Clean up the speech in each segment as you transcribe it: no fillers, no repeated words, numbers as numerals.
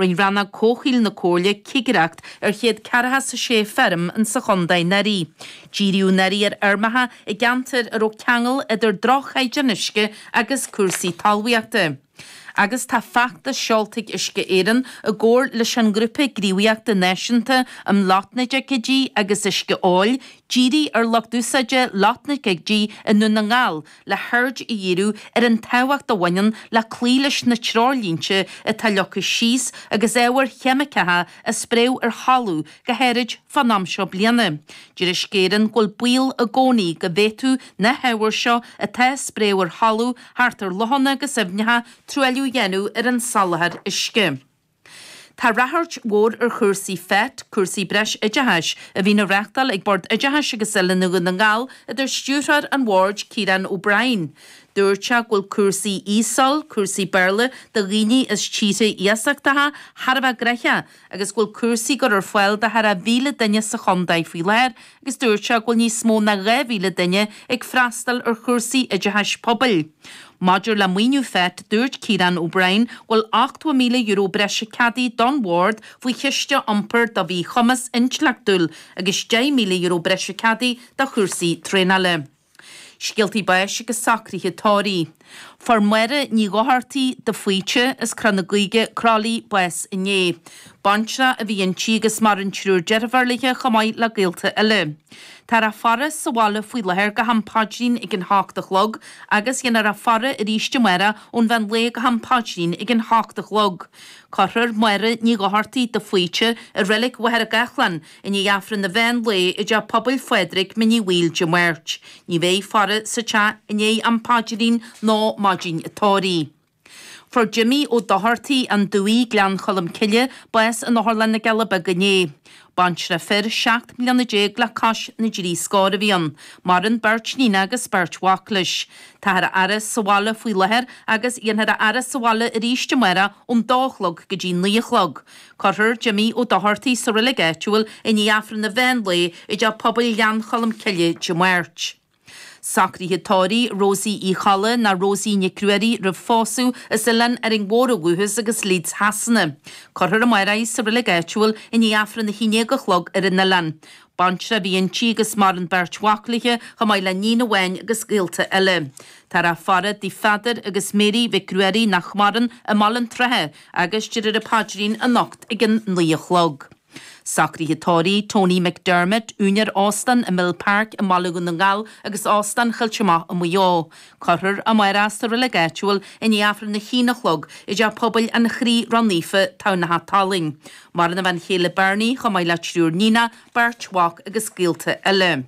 Rinne Rannóg Comhshaoil na Comhairle cigireacht ar 146 feirm insa chontae anuraidh. Díríodh anuraidh ar fheirmeacha i gceantair a raibh ceangal idir droch-chaighdeán uisce agus cúrsaí talmhaíochta. Agus tá feachtas seolta ag Uisce Éireann i gcomhar leis an nGrúpa Gníomhaíochta Náisiúnta um Lotnaidicídí agus Uisce Óil dírithe ar lucht úsáide lotnaidicídí i nDún na nGall le haird a dhíriú ar an tábhacht a bhaineann le cloí leis na treoirlínte atá leagtha síos agus ábhair cheimiceacha á spréadh ar thalamh go háirid fán am seo bliana. Deir Uisce Éireann go bhfuil baol i gcónaí go bhféadfadh na hábhair seo atá á spréadh ar thalamh thart ar lochanna agus aibhneacha truailliú a dhéanamh ar an soláthar uisce. Tá ráchairt mhór ar chúrsaí FET, cúrsaí breis oideachais, a bhíonn á reáchtáil ag Bord Oideachais agus Oiliúna Dhún na nGall, a deir Stiúrthóir an Bhoird, Ciarán O'Brien. Dúirt sé go bhfuil cúrsaí ESOL, cúrsaí Béarla do dhaoine as tíortha iasachtacha, thar a bheith gnoitheach agus go bhfuil cúrsaí á gcur ar fáil do thar a 1,000 duine sa chontae faoi láthair agus dúirt sé go bhfuil níos mó ná 2,000 duine ag freastal ar chúrsaí oideachais pobail. Maidir le maoiniú FET, dúirt Ciarán O'Brien go bhfuil €80,000 breise ceadaithe don Bhord faoi Chiste Iompair do Mhíchumas Intleachtúil agus €10,000 breise ceadaithe do chúrsaí traenála. Scéaltaí báis agus socruithe tórraimh. Fuair Máire Ní Dhochartaigh de Faoite as Cnoc na Gaoithe, Crolly, bás inné. Baintreach a bhí inti agus maireann triúr deirfiúr léi chomh maith le gaolta eile. Táthar á faire sa bhaile faoi láthair go ham paidrín ag an hocht a chlog agus dhéanfar á faire arís amárach ón mheán lae go ham paidrín ag an hocht a chlog. Cuirfear Máire Ní Dhochartaigh de Faoite i Reilig Mhachaire Gathlán I ndiaidh Aifreann an mheán lae i dTeach Pobail Phádraig, Mín Uí Bhaoill Dé Máirt. Ní bheidh faire sa teach i ndiaidh am paidrín nó maidin an tórraimh. Fuair Jimmy Ó Dochartaigh, An Dumhaigh, Gleann Cholm Cille, bás in Otharlann na gCealla Beaga inné. Baintreach fir 17 mbliana le cois na dtrí scór a bhí ann. Maireann beirt níon agus beirt mhac leis. Táthar á fhaire sa bhaile faoi láthair agus dhéanfar a fhaire sa bhaile arís amárach ón dó a chlog go dtí naoi a chlog. Cuirfear Jimmy Ó Dochartaigh sa reilig áitiúil i ndiaidh Aifreann an mheán lae i dTeach Pobail Ghleann Cholm Cille Dé Máirt. Socruithe tórraimh Rosie Uí Cholla ná Rosie Nic Ruairí roimh phósadh as Oileán Árainn Mhór ó dhúchas agus Leeds Shasana. Cuirfear amárach í sa reilig áitiúil i ndiaidh Aifreann a haon déag a chlog ar an oileán. Baintreach a bhí inti agus maireann beirt mhac léi chomh maith le níon amháin agus gaolta eile. Táthar á faire do Pheadar agus Mary Mhic Ruairí nach maireann i mBaile an tSratha agus déarfar an paidrín anocht ag an 9 a chlog. Socruithe tórraimh Tony McDermott, úinéir Óstán an Mill Park i mBaile Dhún na nGall agus Óstán Choillte Mach i Maigh Eo. Cuirfear amárach sa reilig áitiúil i ndiaidh Aifreann a haon a chlog i dTeach Pobail an Chroí Ró-Naofa, Tamhnach Talainn. Maireann a bhean chéile Bernie chomh maith le triúr níonach, beirt mhac agus gaolta eile.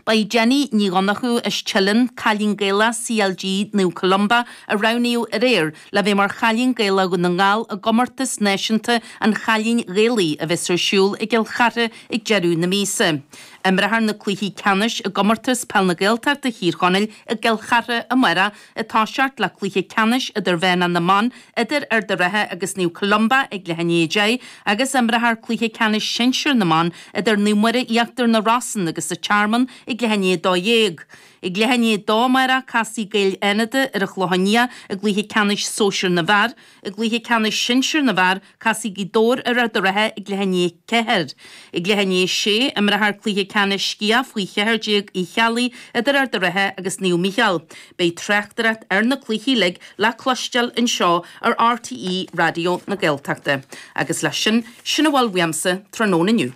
Ba í Jenny Ní Dhonnchú as Teileann, cailín Gaelach CLG Naomh Columba, a roghnaíodh aréir le bheith mar Chailín Gaelach Dhún na nGall i gcomórtas náisiúnta an Chailín Ghaelaigh a bheas ar siúl i gCill Chartha ag deireadh na míosa. Imreofar na cluichí ceannais i gcomórtas Peil na Gaeltachta Thír Chonaill i gCill Chartha amárach ag toiseacht le cluiche ceannais idirmheánach na mban idir Ard an Rátha agus Naomh Columba ag leath i ndiaidh 10 agus imreofar cluiche ceannais sinsir na mban idir Naomh Muire Íochtar na Rosann agus an Tearmann ag leath i ndiaidh 12. Ag leath i ndiaidh 2 amárach casfaidh Gaeil Fhánada ar an Chlochán Liath i gcluiche ceannais sóisir na bhfear. I gcluiche ceannais sinsir na bhfear, casfaidh Gaoth Dobhair ar Ard an Rátha ag leath i ndiaidh 4. Ag leath i ndiaidh 6, imreofar cluiche ceannais sciath faoi 14 Uí Cheallaigh idir Ard an Rátha agus Naomh Mícheál. Beidh tráchtaireacht ar na cluichí uilig le cloisteáil anseo ar RTÉ Raidió na Gaeltachta. Agus leis sin, sin a bhfuil uaimse tráthnóna inniu.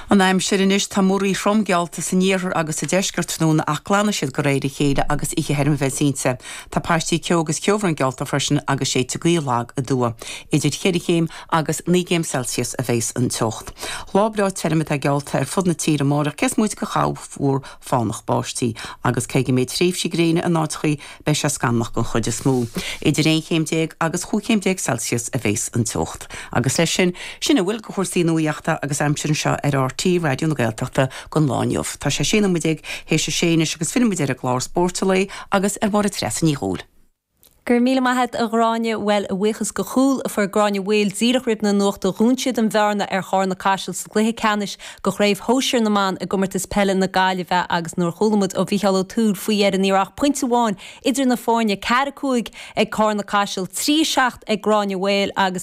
An aimsir anois, tá múraíl throm geallta san iarthar agus sa deisceart tráthnóna ach glanfaidh siad de réir a chéile agus oíche thirim a bheas inti. Tá paistí ceo agus ceobhrán geallta freisin agus séidfidh gaoth lag aduaidh. Idir cheithre chéim agus 9 gcéim Celsius a bheas an teocht. Lá breá tirim atá geallta ar fud na tíre amárach cé is móite de chorrmhúr fánach báistí agus cé go mbeidh tréimhsí gréine in áiteachaí Beidh sé scamallach den chuid is mó. Idir 11 chéim agus 15 chéim Celsius a bheas an teocht. Agus leis sin, sin a bhfuil de chúrsaí nuaíochta agus aimsire anseo ar RTÉ Raidió na Gaeltachta don lá inniu. Tá sé 16 nóiméad théis a sé anois agus fillfidh muid ar an gclár Spóirt an Lae agus ar Mháire Treasa Ní Dhubhghaill. Go raibh míle maith a't a Ghráinne. Bhuel, a bhuíochas do chúl a fuair Gráinne Mhaol díreach roimh na nuachta, dhún siad an bhearna ar Chárna Caiseal sa gcluiche ceannais do Chraobh Shóisir na mBan i gComórtas Peile na Gaillimhe agus nuair a chuala muid ó Mhícheál Ó Tuathail faoi dheireadh ní raibh ach pointe amháin idir na foirne, 4, 5 ag Cárna Caiseal, 3, 7 ag Gráinne Mhaol agus tá.